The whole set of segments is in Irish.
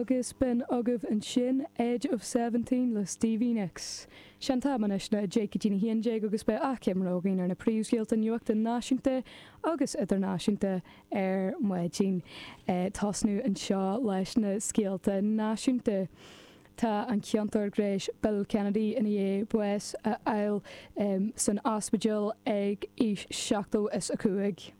Agus b'in agaibh ansin Edge of Seventeen le Stevie Nicks. Sé an t-am anois ná 10 go dtí a 11 agus beidh achoimre againn ar na príomhscéalta nuachta náisiúnta agus idirnáisiúnta ar maidin. Tosnú anseo leis na scéalta náisiúnta. Tá an ciontóir gnéis Bill Kennedy i ndiaidh bás a fháil san ospidéal ag aois 75.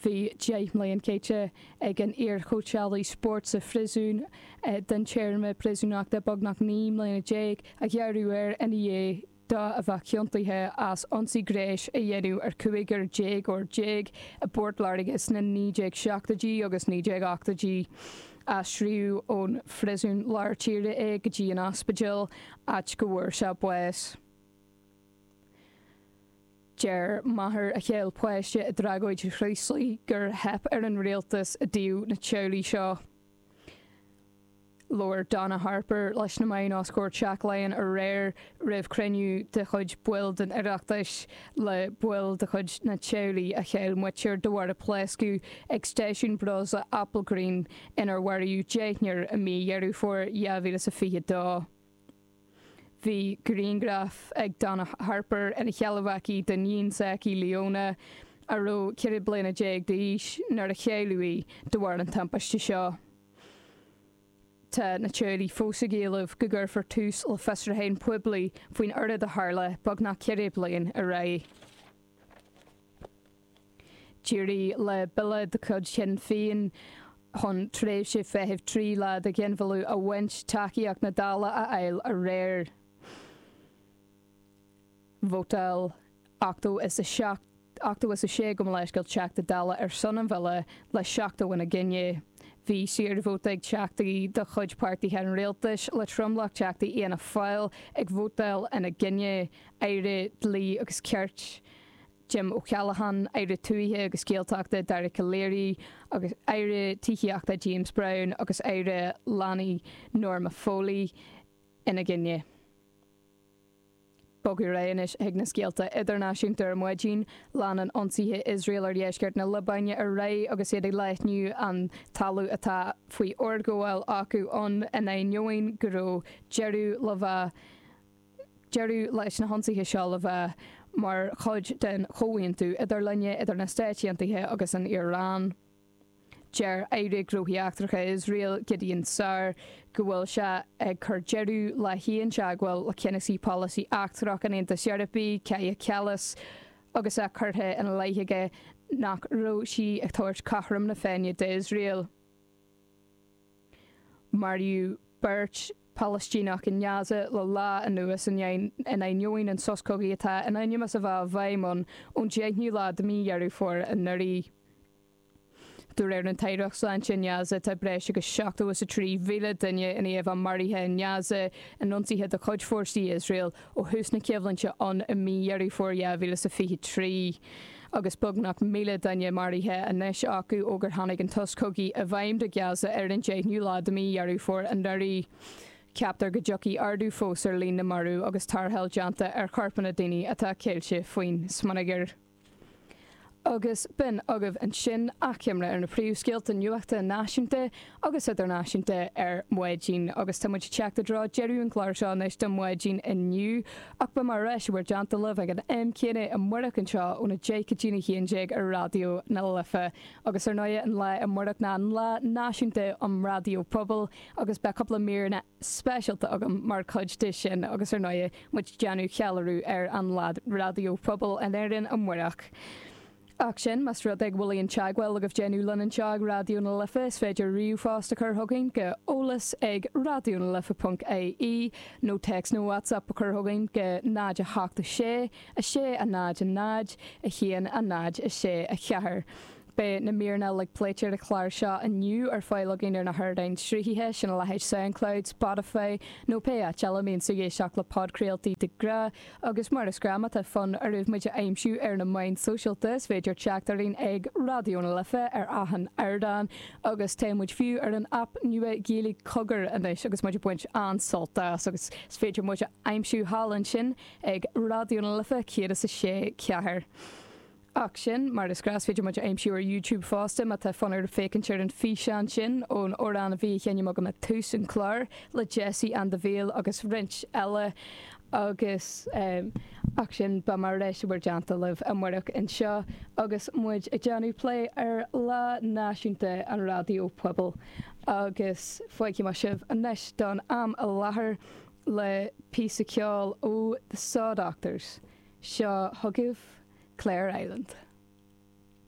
Bhí 10 mbliain caite ag an iar-chóitseálaí spóirt sa phríosún den téarma príosúnachta beagnach 19 mbliana a gearradh air ina dhiaidh dó a bheith ciontaithe as ionsaí gnéis a dhéanamh ar chúigear déagóir i bPort Láirge sna 1970idí agus 1980idí. Aistríodh ón phríosún lár tíre é go dtí an ospidéal, áit go bhfuair sé bás. Deir máthair a chaill páiste i dtragóid Chraoslaigh gur theip ar an rialtas i dtaobh na teaghlaigh seo. Labhair Donna Harper leis na meáin os comhair Teach Laighean aréir roimh chruinniú de chuid baill den Oireachtas le baill de chuid na teaghlaigh a chaill muintir de bharr a pléascadh ag stáisiún breosla Applegreen inar maraíodh deichniúr i mí Dheireadh Fómhair 2022. Bhí grianghraf ag Donna Harper ina sheilbh aici d'iníon s'aici, Leona, a raibh 14 bliana d'aois nuair a cailleadh í de bharr an timpiste seo. Tá na teaghlaigh fós ag éileamh go gcuirfear tús le fiosrúchán poiblí faoin rud a tharla beagnach 4 bliain ar aghaidh. D'éirigh le bille de chuid Shinn Féin chun tréimhse feithimh 3 lá do ghinmhilleadh a bhaint tacaíocht na Dála a fháil aréir. Vótáil 87, 86 gabh mo leithscéal, Teachta Dála ar son an bhille, le 70 ina gcoinne. Bhí saorvóta ag teachtaí de chuid páirtithe an rialtais, le tromlach teachtaí Fhianna Fáil ag vótáil ina gcoinne, Aire Dlí agus Cirt, Jim O'Callaghan, Aire Tuaithe agus Gaeltachta Dara Calleary agus Aire Tithíochta James Browne agus Aire Leanaí Norma Foley ina gcoinne. Bogadh ar aghaidh anois chuig na scéalta idirnáisiúnta ar maidin. Leanann ionsaithe Iosrael ar dheisceart na Liobáine ar aghaidh agus iad ag leathnú an talamh atá faoi fhorghabháil acu ann in ainneoin go raibh deireadh le bheith deireadh leis na hionsaithe seo le bheith mar chuid den chomhaontú idirlinne idir na Stáit Aontaithe agus an Iaráin. Deir Aire Gnóthaí Eachtracha Iosrael, Gideon Saar, go bhfuil sé ag cur deireadh le haon teagmháil le ceannasaí polasaí eachtrach an Aontais Eorpaigh, Kaja Kallas, agus é curtha ina leith aige nach raibh sí ag tabhairt cothrom na Féinne d'Iosrael. Maraíodh beirt Phalaistíneach i nGaza le lá anuas in ainneoin an sos cogaidh atá in ainm is a bheith i bhfeidhm ann ón 10ú lá de mhí Dheireadh Fómhair anuraidh. De réir an tAireacht Sláinte i nGaza, tá breis agus 73,000 duine i ndiaidh a bheith maraithe i nGaza in ionsaithe de chuid fórsaí Iosrael ó thús na coimhlinte ann i mí Dheireadh Fómhair 2023, agus beagnach 1,000 duine maraithe anois acu ó gur tháinig an sos cogaidh i bhfeidhm do Ghaza ar an 10ú lá de mhí Dheireadh Fómhair anuraidh. Ceaptar go dtiocfaidh ardú fós ar líon na marbh agus tarrtháil déanta ar chorpanna daoine atá ceilte faoin smionagar. Agus b'in agaibh ansin achoimre ar na príomhscéalta nuachta náisiúnta agus idirnáisiúnta ar maidin. Agus tá muid ag teacht i dtreo deireadh an chláir seo anois do maidin inniu. Ach beidh mé ar ais i bhur dteannta libh ag an am céanna amárach anseo óna 10 go dtína 11 ar Raidió na Life. Agus ar ndóigh an lá amárach ná an Lá Náisiúnta um Raidió Pobail agus beidh cúpla míreanna speisialta agam mar chuid de sin agus ar ndóigh muid ag déanamh ceiliúradh ar an Lá Raidió Pobail in Éirinn amárach. Ach sin, más rud é go bhfuil aon teagmháil agaibh déanamh linn anseo ag Raidió na Life, is féidir ríomhphost a chur chugainn go eolas ag raidionalife.ie nó téacs nó WhatsApp a chur chugainn go 0 8 6 6 0 0 1 0 6 4. Beidh na míreanna uilig pléite ar an chlár seo inniu ar fáil againn ar na hardáin sruthaithe, sin a leithéid Soundcloud, Spotify nó pé áit eile a mbíonn tú ag éisteacht le podchraoltaí de ghnáth. Agus mar is gnáth, má tá fonn oraibh muid a aimsiú ar na meáin sóisialta, is féidir teacht orainn ag Raidió na Life ar achan ardán agus tá muid fiú ar an aip nua Gaeilge Cogar anois agus muid ag baint an-sult as agus is féidir muid a aimsiú thall ansin ag Raidió na Life 106.4. Ach sin mar is gnách, is féidir muid a aimsiú ar YouTube fosta má tá fonn ort féachaint ar an físeán sin ón amhrán a bhí á sheinm agam ag tús an chláir le Jesse and the Veil agus roinnt eile agus ach sin beidh mé ar ais i bhur dteannta libh amárach anseo agus muid ag déanamh plé ar Lá Náisiúnta an Raidió Pobail agus fágfaidh mé sibh anois don am i láthair le píosa ceoil ó The Saw Doctors. Seo chugaibh Clare Island.